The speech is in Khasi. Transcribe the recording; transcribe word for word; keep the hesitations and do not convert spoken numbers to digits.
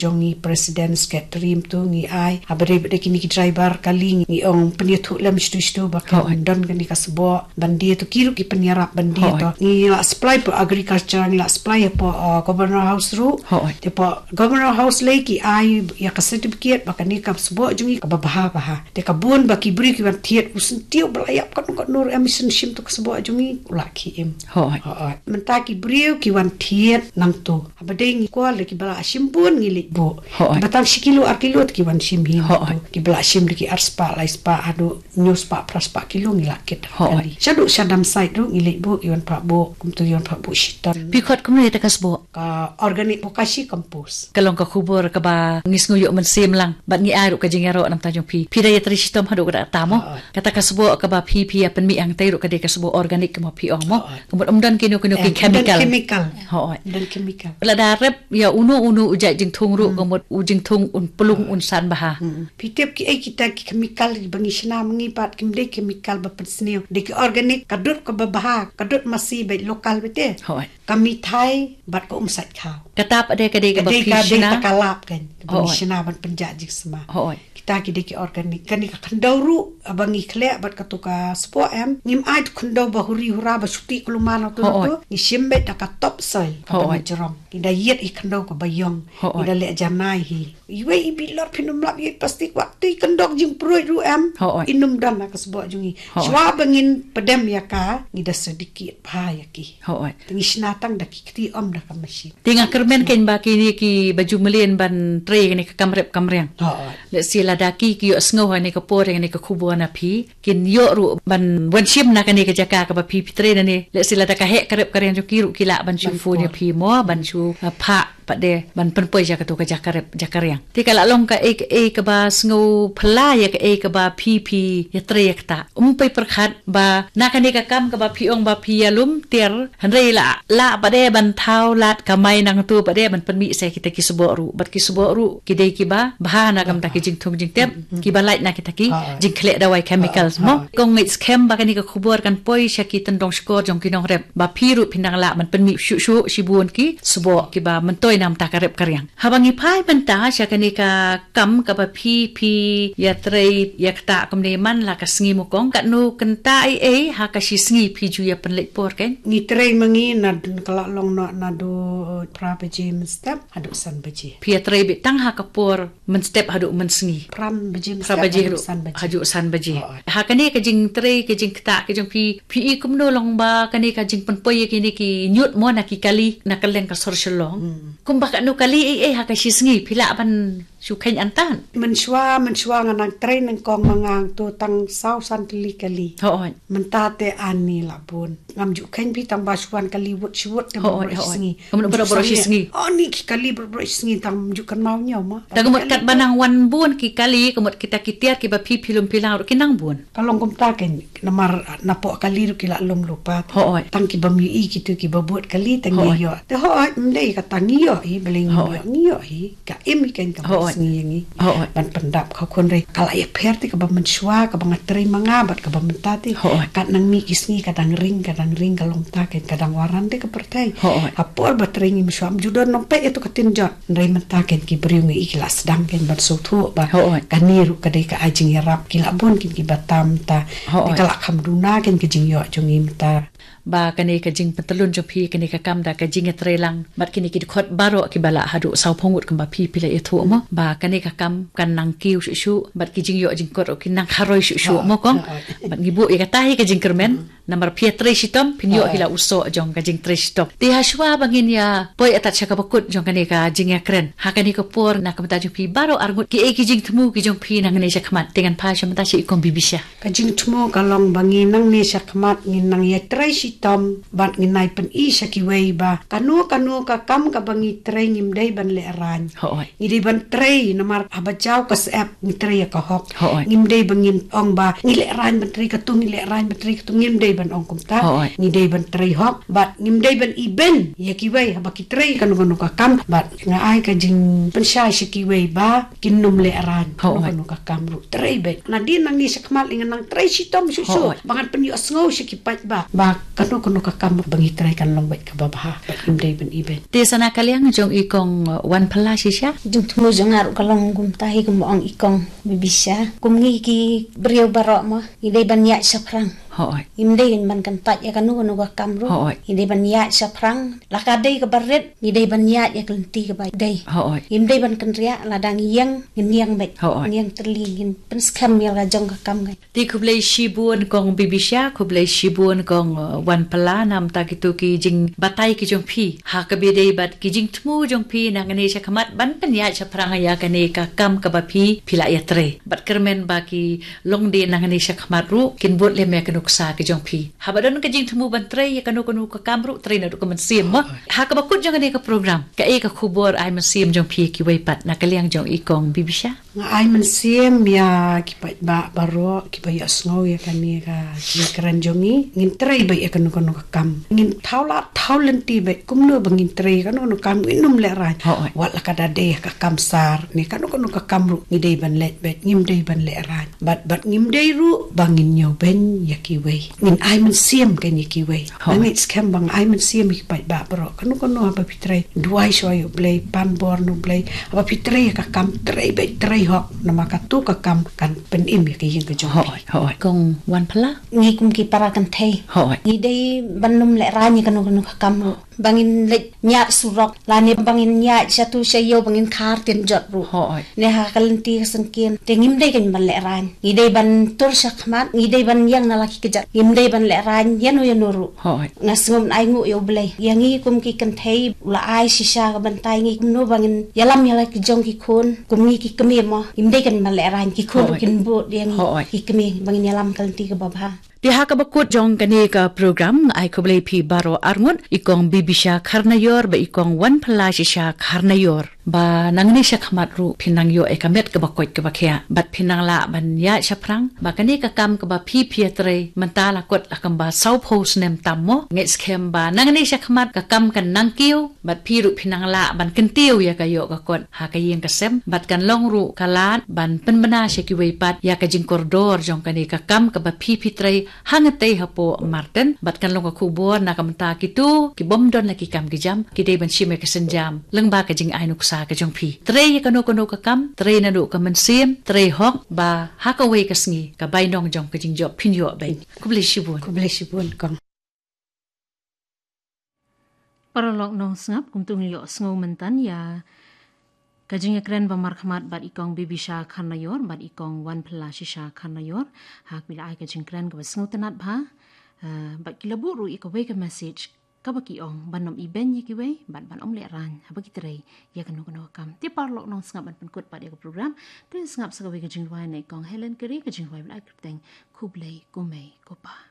jong ngi president secretary mynta ngi ai. Haba dei ba dei kine ki driver kali ngi ong pynïathuh lem shtu shtu ba kan don kane ka sboh ban die to ki ruh ki pynïarap ban die to. Ngi la supply hapoh agriculture, ngi la supply hapoh, uh, Governor House ruh. Te hapoh Governor House lei ki ai ïa ka certificate ba kane ka sboh jong ngi kaba bha bha. Te ka bun ba ki briew ki wan thied u syntiew ba la ïap katno katno ruh em, sngewsih shim to ka sboh jong ngi u la khie im. Hooid. Mynta ki briew ki wan thied nangto. Haba dei ngi kwah lei kiba la shim bun ngi leit buh. Hooid. Kiba tang shi kilo ar kilo te ki wan shim hi. Hooid. Kiba la shim da ki ar spah lai spah haduh hynñiew spah phra spah kilo ngi la kit. Hooid. Shaduh sha dump site ruh ngi leit buh, ki wan phah buh, kumto ki wan phah buh shitom. Phi khot kumno ïa kata ka sboh? Ka organic bokashi compost. Ka long ka khubor kaba ngi sngew ïoh mynsiem lang bad ngi ai ruh ka jingïaroh na bynta jong phi. Phi da ïatrei shitom haduh katta mo. Kata ka sboh kaba phi phi ïa pynmih hangtei ruh ka dei ka sboh organic kumba phi ong mo. Ka mut ym don kino kino ki chemical. Hooid. Lada rep ïa uno uno u jait jingthung ruh ka mut u jingthung un plung un san bha. Phi tip kiei kita ki chemical ba ngi shna ma ngi pat kim dei chemical ba pynsniew. Dei ki organic, ka dud kaba bha, ka dud masi beit local beit te. Hooid. Ka mithai bad ka um sait khaw. Kata pat de ka dei kaba phi shna. Ka lap kan. Kaba ngi shna ban pynjah jingsma. Hooid. Kita ki dei ki organic. Kane ka khyndew ruh ba ngi khleh bad kato ka sboh em. Ngim ai tu khyndew ba huri hura ba shuti kulumar na tu na tu. Ngi shim beit da ka top soil kaba ngi jrong. Ngi da ïit i khyndew kaba ïong. Ngi da leh janai hi. Iwei i bilor phin ym lap ïa i plastik wat tu i kyndok jingpruid ruh em. Hooid. In ym don ha ka sboh jong ngi. Hooid. Shuwa ba ngin pdem ïa ka ngi da sdiki bha ïa ki. Hooid. Te ngi shna tang da ki kti ym da ka machine. Te nga kyrmen kein ba kine kiba ju mlien ban trei kane ka kam rep kam riang. Hooid. Lehse lada ki ki ïohsngew ha kane ka por kane ka khubor na phi kin ïoh ruh ban wan shim na kane ka jaka kaba phi phi trei na ne. Lehse lada ka heh ka rep ka riang jong ki ruh ki lah ban shu phone ïa phi mo ban shu, uh, phah pat de ban pynpoi ïa kato ka jaka rep jaka riang. Te ka la long kaei kaei kaba sngew phylla ïa kaei kaba phi phi ïatrei ïa kata. Ym pei pyrkhat ba na kane ka kam kaba phi ong ba phi ïalum tiar hynrei la lah pat de ban thaw lad kamai nangto pat de ban pynmih sa kita ki sboh ruh bad ki sboh ruh ki dei kiba bha na ka bynta ki jingthung jingtep kiba lait na kita ki jingkhleh dawai chemicals mo. Kong ngeit skhem ba kane ka khubor kan poi sha ki tyndong shkor jong ki nongrep ba phi ruh phin dang lah ban pynmih shuh shuh shibun ki sboh kiba myntoi na ka bynta ka rep ka riang. Haba ngi phai mynta sha kane ka kam kaba phi phi ïatrei ïa kata kumne man la ka sngi mo kong, katno kynta ei ei ha ka shi sngi phi ju ïa pynleit por kein? Ngi trei ma ngi na dun ka la long noh naduh phra baje mynstep haduh san baje. Phi ïatrei beit tang ha ka por mynstep haduh mynsngi. Phra baje mynstep haduh san baje. Haduh san baje. Ha kane ka jingtrei ka jingktah ka jong phi, phi i kumno long ba kane ka jingpynpoi ïa kine ki ñiut mo na ki kali na kylleng ka sor Shillong. Kumba katno kali ei ei ha ka shi sngi phi lah ban shu kheiñ antan? Mynshuwa mynshuwa nga nang trei nyngkong ma nga to tang saw san tylli kali. Hooid. Mynta te ani la bun. Ngam ju kheiñ phi tang ba shu wan kali wut shi wut te baroh shi sngi. Ka mut baroh baroh shi sngi. Oh ni ki kali baroh baroh shi sngi tang ju kynmaw ñiew ma. Tang ka mut katba nang wan bun ki kali ka mut kita ki tiar kiba phi phi lum phi lang ruh ki nang bun. Ka long kumta kein namar napoh kali ruh ki la lum lypa. Hooid. Tang ki bym ïohi kito kiba bud kali tang ngi ïoh. Te hooid ym dei kata ngi ïoh hi, balei ngi ïoh, ngi ïoh hi. Ka im hi kein kaba sngi ïa ngi. Ban pyndap ka khun re ka la ïapher te kaba mynshuwa kaba nga trei ma nga bad kaba mynta te. Kat nang mih ki sngi ka dang ring ka dang ring ka long ta kein ka dang waran te ka pyrthei. Ha por ba trei ngi mynshuwa ym ju don nongpeit ïa to ka tin jot. Hynrei mynta kein ki briew ngi i ki la sdang kein ban sngewthuh ba kane ruh ka dei ka ai jingïarap ki la bun kein kiba tam ta. Te ka la kham duna kein ka jingïoh jong ngi mynta. Ba kane ka jingpyntyllun jong phi kane ka kam da ka jingïatreilang bad kine ki dkhot baroh kiba la haduh saw phew ngut kumba phi phi la ïathuh mo ba kane ka kam kan nang kiew shuh shuh bad ki jingïoh jingkot ruh kin nang kharoi shuh shuh mo kong. Bad ngi buh ïa kata hi ka jingkyrmen. Namar phi ïatrei shitom phin ïoh hi la u soh jong ka jingtrei shitom. Te ha shuwa ba ngin ïa poi atat sha kaba kut jong kane ka jingïakren ha kane ka por na ka bynta jong phi baroh arngut kiei ki jingthmu ki jong phi nangne sha khmat te ngan phai sha mynta sha i kong Bibisha. Ka jingthmu ka long ba ngi nangne sha khmat ngin nang ïatrei shitom bad ngin nai pyni sha kiwei ba kano kano ka kam kaba ngi trei ngim dei ban lehraiñ. Ngi dei ban trei namar haba jaw ka syep ngi trei ïa ka hok. Ngim dei ba ngin ong ba ngi lehraiñ ban trei katu ngi lehraiñ ban trei katu ngim dei ban ong kumta. Ngi dei ban trei hok bad ngim dei ban ibeiñ ïa kiwei haba ki trei kano kano ka kam bad nga ai ka jingpynshai sha kiwei ba kin nym lehraiñ kano kano ka kam ruh trei beit. Nadien nangne sha khmat lei ngan nang trei shitom shuh shuh ba ngan pynïohsngew sha ki paidbah ba Kano kano ka kam ba ngi trei kan long beit kaba bha, bad ngim dei ban ibeiñ. Te sa na ka liang jong i kong, uh, Wanpala shisha? Jingthmu jong nga ruh ka long kumta hi, kum ong i kong Bibisha. Kum ngi ki briew baroh mo, ngi dei ban ïaid shaphrang. Hooid. Ngim dei ban kyntait ïa kano kano ka kam ruh. Hooid. Ngi dei ban ïaid shaphrang. La ka dei kaba rit, ngi dei ban ïaid ïa ka lynti kaba dei. Hooid. Ngim dei ban kynriah, lada ngi ïeng, ngin ïeng beit. Hooid. Ngin ïeng tylli, ngin pynskhem ïa la ka jong ka kam ka. Te khublei shibun kong Bibisha, khublei shibun kong, uh, Wanpala, namta kito ki jingbatai ki jong phi. Ha kaba ïadei bad ki jingthmu jong phi nangne shakhmat ban pynïaid shaphrang ïa kane ka kam kaba phi, phi la ïatrei. Bad kyrmen ba ki longdien nangne shakhmat ruh kin bud lem ïa ka nuksa ka jong phi. Haba don ka jingthmu ban trei ïa kano kano ka kam ruh, trei naduh ka mynsiem mo. Ha kaba kut jong kane ka program, kaei ka khubor ai mynsiem jong phi kiwei pat na ka liang jong i kong Bibisha? Nga ai mynsiem ïa ki paidbah baroh kiba ïohsngew ïa kane ka jingkren jong ngi. Ngin trei beit ïa kano kano ka kam. Ngin thaw lad thaw lynti beit kumno ba ngin trei ïa kano kano kam, ngin ym lehraiñ. Hooid. Wat la ka da dei ïa ka kam sar ne kano kano ka kam ruh, ngi dei ban leit beit, ngim dei ban lehraiñ. Bad, bad ngim dei ruh ba ngin ñiewbeiñ ïa kiwei. Ngin ai mynsiem kein ïa kiwei. Hooid. Nga ngeit skhem ba nga ai mynsiem ïa ki paidbah baroh. Kano kano haba phi trei, duwai shuwa ïa U Blei, pan bor na U Blei. Haba phi trei ïa ka kam, trei beit, trei hok. Namar kato ka kam kan pynim ïa ka ïing ka jong phi. Hooid, hooid. Kong Wanpala? Ngi kum ki para kynthei, hooid, ngi dei ban ym lehraiñ ïa kano kano ka kam ruh. Ba ngin leit ñiad surok, lane ba ngin ñiad shatu shaïew ba ngin khar tien jot ruh. Hooid. Ne ha ka lynti ka syngkien, te ngim dei kein ban lehraiñ. Ngi dei ban tur shakhmat, ngi dei ban ïeng na la ki kjat. Ngim dei ban lehraiñ ïano ïano ruh. Hooid. Nga sngewbha ai nguh ïa U Blei. Ïa ngi kum ki kynthei, u la ai shisha ka bynta ïa ngi kumno ba ngin ïalam ïa la ki jong ki khun, kum ngi ki kmie mo. Ngim dei kein ban lehraiñ, ki khun ruh, hooid, kin bud ïa ngi, hooid, ki kmie ba ngin ïalam ka lynti kaba bha. Te ha kaba kut jong kane ka program, nga ai khublei phi baroh arngut, i kong Bibisha Kharnaior bad i kong Wanpala shisha Kharnaior. Ba nangne shakhmat ruh phin nang ïoh ïa ka met kaba koit kaba khiah. Bad phin nang lah ban ïaid shaphrang. Ba kane ka kam kaba phi phi ïatrei mynta la kut la kumba sawphew snem tam mo. Ngeit skhem ba nangne shakhmat ka kam kan nang kiew. Bad phi ruh phin nang lah ban kyntiew ïa ka ïoh ka kot ha ka ïing ka sem. Bad kan long ruh ka lad ban pynbna sha kiwei pat ïa ka jingkordor jong kane ka kam kaba phi phi trei hangtei hapoh Martin. Bad kan long ka khubor na ka bynta kito ki bym don la ki kam ki jam, ki dei ban shim ïa ka synjam lyngba ka jingai nuksa ka jong phi. Trei ïa kano kano ka kam, trei naduh ka mynsiem, trei hok, ba ha kawei ka sngi ka bainong jong ka jingjop phin ïoh beit. Khublei shibun. Khublei shibun kong. Paralok nongsngap, kumto ngin ïohsngew mynta ïa ka jingïakren ba markhmat bad i kong Bibisha Kharnaior bad i kong Wanpala shisha Kharnaior. Ha kaba la ai ka jingkren kaba sngewtynnat bha. Eh, bad ki la buh ruh ïa kawei ka message kaba ki ong ban ym ibeiñ ïa kiwei bad ban ym lehraiñ haba ki trei ïa kano kano ka kam. Te paralok nongsngap, ban pynkut pat ïa ka program, to ïa sngap sa kawei ka jingrwai na i kong Helen Kari, ka jingrwai ba la ai kyrteng Khublei Kumei Kupa.